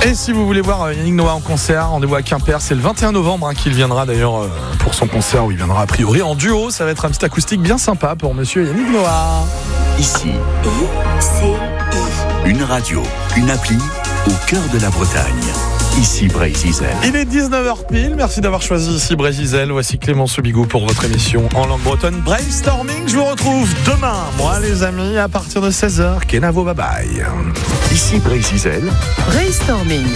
Et si vous voulez voir Yannick Noah en concert, rendez-vous à Quimper, c'est le 21 novembre hein, qu'il viendra d'ailleurs pour son concert où il viendra a priori en duo. Ça va être un petit acoustique bien sympa pour monsieur Yannick Noah. Ici, I, C, I. une radio, une appli au cœur de la Bretagne. Ici Breizh-Izel. Il est 19h pile, merci d'avoir choisi ici Breizh-Izel. Voici Clément Soubigou pour votre émission en langue bretonne Brainstorming. Je vous retrouve demain, moi les amis, à partir de 16h. Kenavo, bye bye. Ici Breizh-Izel. Brainstorming.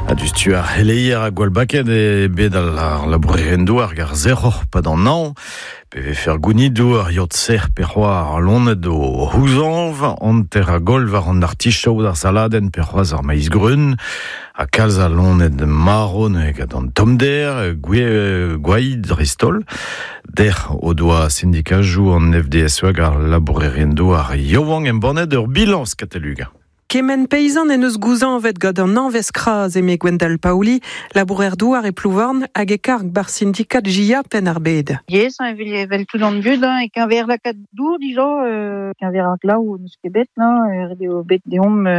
A du stu ar heleier a gwall-baket e bet al ar labourerien douar gar zerroc'h pad an hañv, pe vefe ar gounidou ar yod serr pe c'hoaz ar loened o c'houzañv, hanter a goll war an artichaod ar saladenn pe c'hoazh ar maiz greun, ha kalz a loened marv neuze gant an tommder, gwaid dreist-holl. Dec'h o doa sindikajoù an FDSE hag ar labourerien douar yaouank embannet ur bilañs kataluga. Kement peizant en eus gouzañvet gant an hañvezh kras eme Gwendal Paoli, labourer douar e Plouvorn hag e karg bar syndikat JA Penn-ar-Bed. Yes, hein, evel, evel tout an dud, hein, e keñver lakaat dour dija, keñver ar glav n'eus ket bet, hein, ret eo bet deomp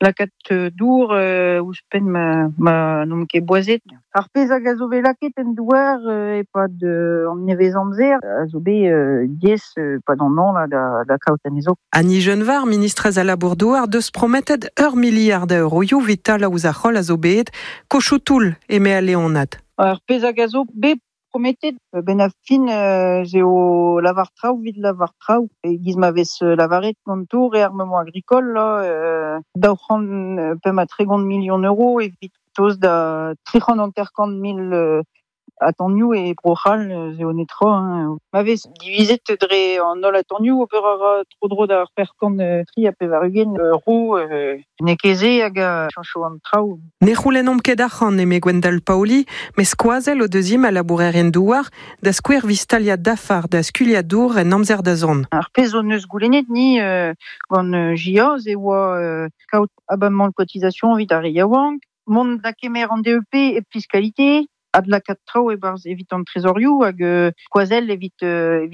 lakaat dour ouzhpenn ma n'omp ket boazet. Ar pezh hag a zo bet lakaet en douar e-pad an nevez-amzer a zo bet diaes pad an hañv là, da kaout anezho. Annie Genevard, ministrez a labour douar, deus prometet ur miliard a euroioù evit talañ ouzh ar c'holl a zo bet, kochoutoul eme al Leonad. Ar pezh hag a zo bet prometet, ben a fin zeo lavar traoù evit lavar traoù. E giz ma vez lavaret ganto réarmement agricole, là, daou c'hant pemp ha tregont million euro evit toz da tri c'hant hanter-kant mil atanioù e Bro-C'hall, zeo netra. Hein. Ma vez divizet dre an holl atanioù ober a ra tro-dro da c'hwec'h kant tri ha pevar-ugent euro, n'eo ket se hag a chañcho an traoù. Ne c'houlennomp ket arc'hant eme Gwendal Paoli, mes skoazell o deus int a labourerien douar da skouer evit staliañ dafar da skuilhañ dour en amzer da zont. Ar pezh hon eus goulennet ni gant JA, ze oa kaout abamant cotisation evit ar re yaouank, mont da kemer an DEP e fiscalité, ad lakaat traoù e-barzh evit an trezorioù hag skoazell evit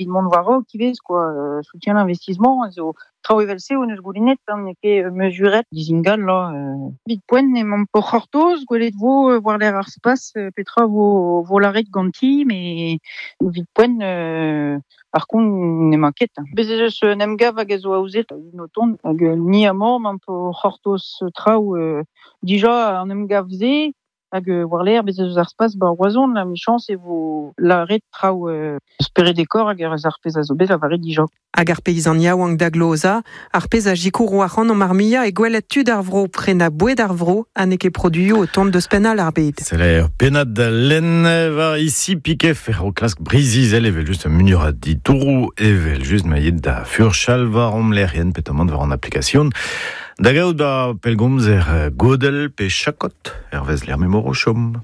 mont war-raok ivez, quoi, soutien l'investissement, zo traoù evel-se hon eus goulennet, hein, n'eo ket mesuret dizingal, là. Evit poent emaomp o c'hortoz, gwelet vo war-lerc'h ar spas petra vo lâret ganti, mais evit poent par contre n'emañ ket. Bez ez eus un emgav hag a zo aozet un o tont, hag ni amañ emaomp o c'hortoz traoù dija an emgav-se, hag war-lerc'h bez ez eus ar spas ba Roazhon, la michañs e vo lâret traoù spered e kor hag ar pezh a zo bet lavaret dija. Hag ar peizant yaouank da glozañ, ar pezh a sikouro ac'hanomp ar muiañ e gwelet tud ar vro prenañ boued ar vro ha n'eo ket produioù o tont deus penn all ar bed. C'est ur pennad da lenn war ici piquet fer o klask Breizh-Izel evel just un muioc'h a ditouroù evel just ma yet da furchal war hom lec'hienn petamant war an application. Da gaout da pellgomzer godell pe chakot, hervez lec'h m'emañ o chom.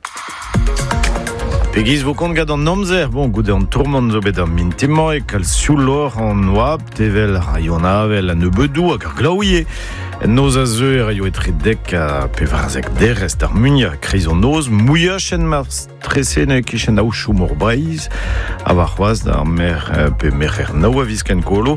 Pegiz vo kont gant an amzer, bon, goude an tourmant zo bet ar mintin-mañ e kalz siouloc'h an oabl, tevel raio an avel a nebeudoù hag ar glaouier. En noz a zeu e raio etre dek ha pevarzek derez d'ar muiañ kreiz an noz, mouilhachen mar strese ne kichen aochoù mor Breizh, ha warc'hoazh d'ar mer pe merc'her nav a viz Kenkolo.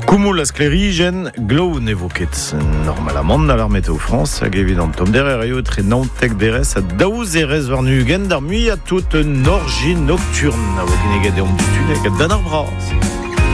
Koumoul a sklêrijenn, glav ne vo ket normalamant a lar Météo France hag evit an tommder e raio etre naontek derez ha daou zerez warn-ugent d'ar muiañ tout un orji nocturne a vo kinniget deomp du-tu hag dan ar bras.